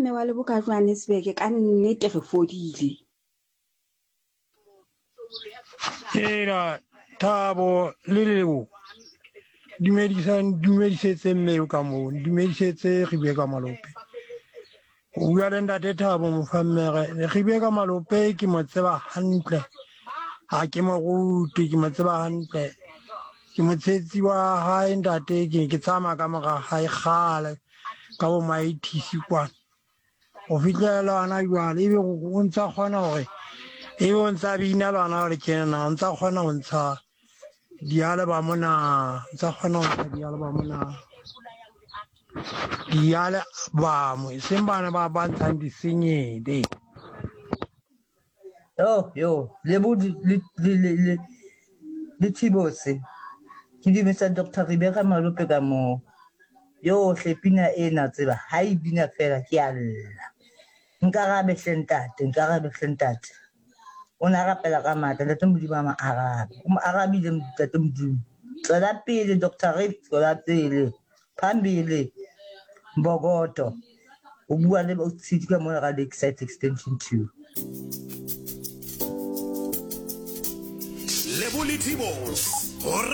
Mme wa Lebo ka Johannesburg, ka nnete re fodile. Ela Thabo le Lebo dumedisang dumedisetse mme eo ka moo dumedisetse Rebeka Malope o bua le ntate Thabo Mofammere Rebeka Malope ke mo tseba hantle ha ke mo rute ke mo tseba hantle ke motshetsi wa hae ntate ke ke tsamaya ka mora hae kgale ka bo maithisi kwana go fihlela le gona jwale ebe o ntsa kgona gore ebe o ntsa bina le gona gore ke na o ntsa kgona go ntsha dialebamo na ntsa kgona go ntsha dialebamo na dialebamo e seng bana ba ba ntshang disenyele. Yo, yo, le bo le le le le le Thibose. Ke dumedisa Dr. Rebecca Malope ka moo. Yo hle pina ena tseba ha e bina fela ke a lla. Nkarabe hle ntate, nkarabe hle ntate. O ne a rapela ka matla, ntate Modimo a mo arabe. O mo arabile ntate Modimo. Tswela pele Dr. Rip, tswela pele. Phambili Mbokodo. O bua le Tshidi ka mona ka Lakeside Extension 2. Lebo le Tibos.